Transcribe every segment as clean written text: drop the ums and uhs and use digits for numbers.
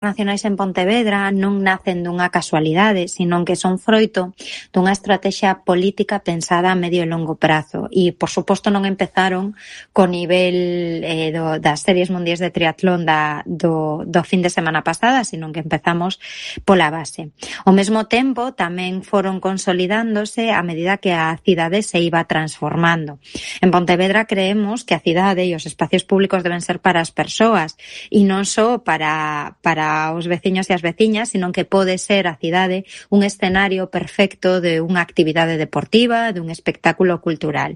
internacionais en Pontevedra non nacen dunha casualidade, sino que son froito dunha estrategia política pensada a medio e longo prazo. E, por suposto, non empezaron co nivel das series mundiais de triatlón do fin de semana pasada, sino que empezamos pola base. Ao mesmo tempo, tamén foron consolidándose a medida que a cidade se iba transformando. En Pontevedra creemos que a cidade e os espacios públicos deben ser para as persoas e non só para os veciños e as veciñas, sino que pode ser a cidade un escenario perfecto de unha actividade deportiva, de un espectáculo cultural.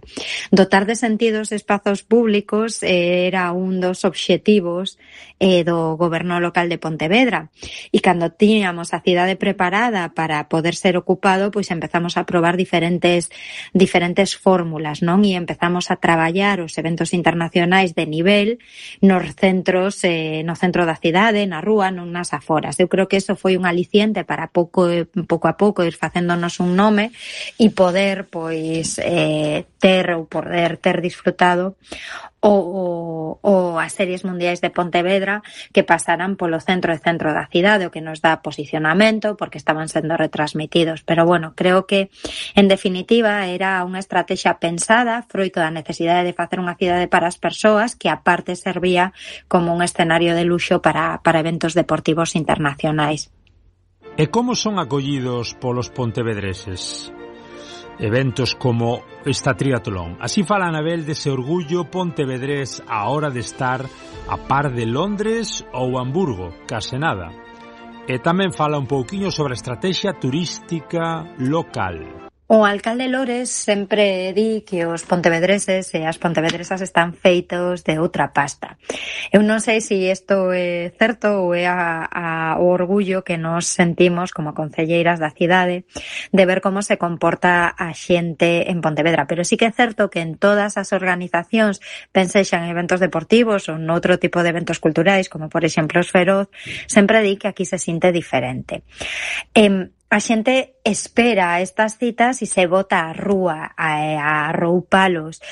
Dotar de sentido os espazos públicos era un dos obxectivos do goberno local de Pontevedra. E cando tiñamos a cidade preparada para poder ser ocupado, pois empezamos a probar diferentes fórmulas, non? E empezamos a traballar os eventos internacionais de nivel nos centros, no centro da cidade, na rúa, non nas aforas. Eu creo que eso foi un aliciente para pouco a pouco ir facéndonos un nome e poder, pois, ter disfrutado ou as series mundiais de Pontevedra que pasaran polo centro da cidade, o que nos dá posicionamento porque estaban sendo retransmitidos. Pero bueno, creo que en definitiva era unha estrategia pensada froito da necesidade de facer unha cidade para as persoas que aparte servía como un escenario de luxo para eventos deportivos internacionais. E como son acollidos polos pontevedreses eventos como esta triatlón? Así fala Anabel dese orgullo pontevedrés á hora de estar a par de Londres ou Hamburgo, case nada. E tamén fala un pouquiño sobre a estrategia turística local. O alcalde Lores sempre di que os pontevedreses e as pontevedresas están feitos de outra pasta. Eu non sei se isto é certo ou é o orgullo que nos sentimos como concelleiras da cidade de ver como se comporta a xente en Pontevedra. Pero sí que é certo que en todas as organizacións, pensexan en eventos deportivos ou noutro tipo de eventos culturais, como por exemplo os Feroz, sempre di que aquí se sinte diferente. A xente espera estas citas e se bota á rúa, a arroupalos,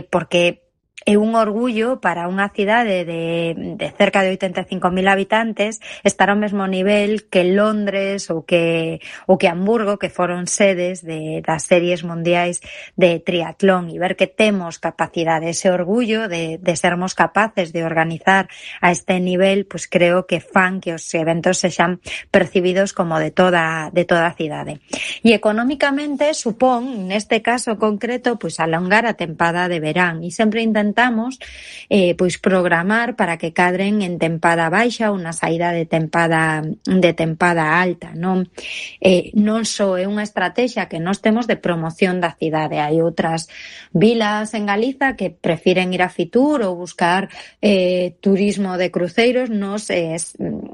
porque é un orgullo para unha cidade de cerca de 85.000 habitantes estar ao mesmo nivel que Londres ou que Hamburgo, que foron sedes das series mundiais de triatlón, e ver que temos capacidade, ese orgullo de sermos capaces de organizar a este nivel, pues creo que fan que os eventos sexan percibidos como de toda a cidade. E económicamente supón, neste caso concreto, pues alongar a tempada de verán, e sempre intentamos pois programar para que cadren en tempada baixa ou na saída de tempada alta, non? Non só é unha estrategia que nós temos de promoción da cidade. Hai outras vilas en Galiza que prefiren ir a Fitur ou buscar turismo de cruceiros. Nos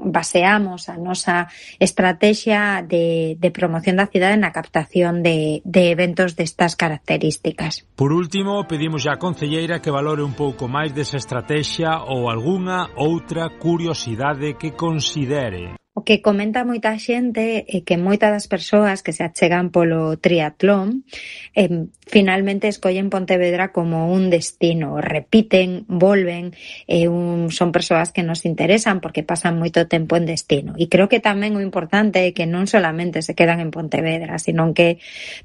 baseamos a nosa estrategia de promoción da cidade na captación de eventos destas características. Por último, pedimos á concelleira que valore un pouco máis desa estrategia ou algunha outra curiosidade que considere. O que comenta moita xente é que moitas das persoas que se achegan polo triatlón finalmente escollen Pontevedra como un destino, repiten, volven, son persoas que nos interesan porque pasan moito tempo en destino. E creo que tamén o importante é que non solamente se quedan en Pontevedra, sino que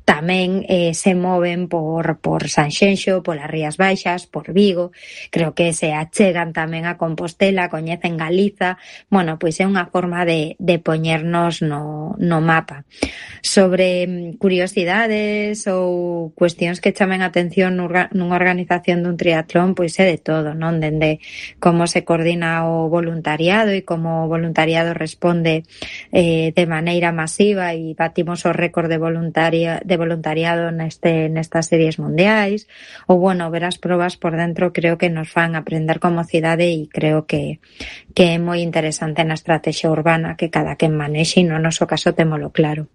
tamén se moven por Sanxenxo, polas Rías Baixas, por Vigo. Creo que se achegan tamén a Compostela, coñecen Galiza. Bueno, pois é unha forma de poñernos no mapa. Sobre curiosidades ou cuestións que chamen a atención nunha organización dun triatlón, pois é de todo, non? Dende como se coordina o voluntariado e como o voluntariado responde de maneira masiva e batimos o récord de voluntariado nestas series mundiais, ou bueno, ver as probas por dentro creo que nos fan aprender como cidade e creo que é moi interesante na estrategia urbana que cada quen manexe e no noso caso témolo claro.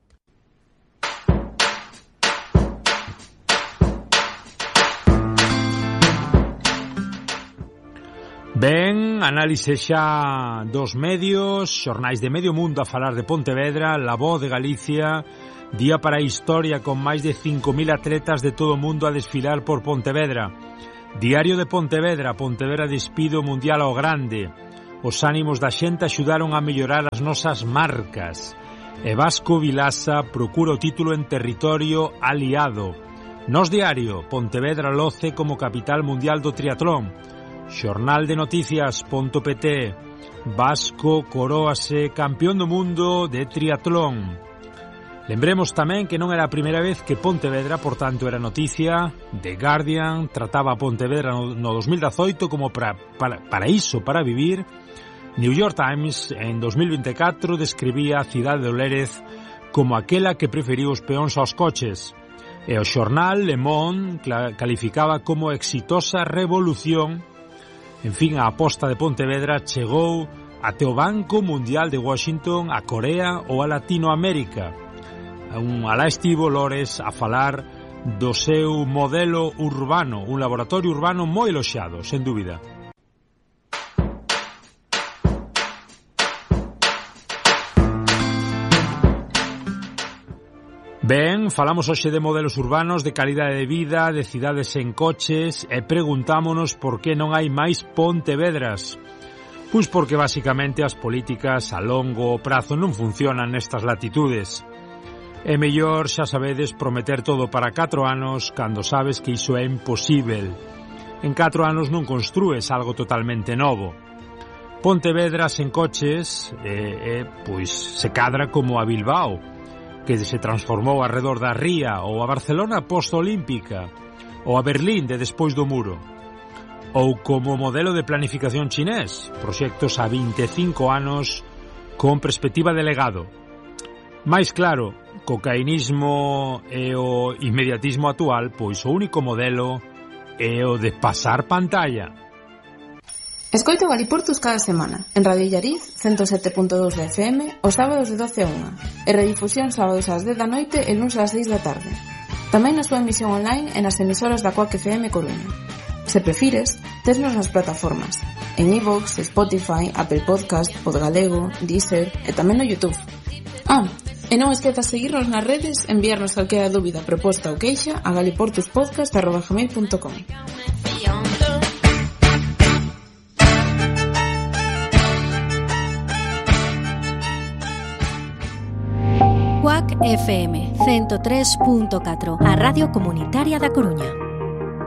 Ben, análise xa dos medios, xornais de medio mundo a falar de Pontevedra, La Voz de Galicia, día para a historia con máis de 5.000 atletas de todo o mundo a desfilar por Pontevedra. Diario de Pontevedra, Pontevedra despido mundial ao grande. os ánimos da xente axudaron a mellorar as nosas marcas. E Vasco Vilasa procura o título en territorio aliado. Nos Diario, Pontevedra loce como capital mundial do triatlón. Xornal de Noticias.pt, Vasco coróase campeón do mundo de triatlón. Lembremos tamén que non era a primeira vez que Pontevedra, por tanto, era noticia. The Guardian trataba a Pontevedra no 2018 como paraíso para vivir. New York Times, en 2024, describía a cidade do Lérez como aquela que preferiu os peóns aos coches. E o xornal Le Monde calificaba como exitosa revolución. En fin, a aposta de Pontevedra chegou até o Banco Mundial de Washington, a Corea ou a Latinoamérica. Alá estivo Lores a falar do seu modelo urbano, un laboratorio urbano moi eloxiado, sen dúbida. Ben, falamos hoxe de modelos urbanos, de calidade de vida, de cidades en coches e preguntámonos por que non hai máis Pontevedras. Pois porque basicamente as políticas a longo prazo non funcionan nestas latitudes. É mellor, xa sabedes, prometer todo para 4 anos cando sabes que iso é imposível. En 4 anos non construes algo totalmente novo. Pontevedras en coches pois se cadra como a Bilbao, que se transformou arredor da Ría, ou a Barcelona post-olímpica, ou a Berlín de despois do muro, ou como modelo de planificación chinés, proxectos a 25 anos con perspectiva de legado. Mais claro, co caínismo e o inmediatismo actual, pois o único modelo é o de pasar pantalla. Escoita Galiportus cada semana, en Radio Illariz, 107.2 de FM, os sábados de 12 a 1, e redifusión sábados ás 10 da noite e luns ás 6 da tarde. Tamén na súa emisión online e nas emisoras da Coac FM Coruña. Se prefires, tesnos nas plataformas, en iVoox, Spotify, Apple Podcast, Podgalego, Deezer e tamén no YouTube. E non esquezas seguirnos nas redes, enviarnos calquera dúbida, proposta ou queixa a galiportuspodcast@gmail.com. Coac FM 103.4, a Radio Comunitaria da Coruña.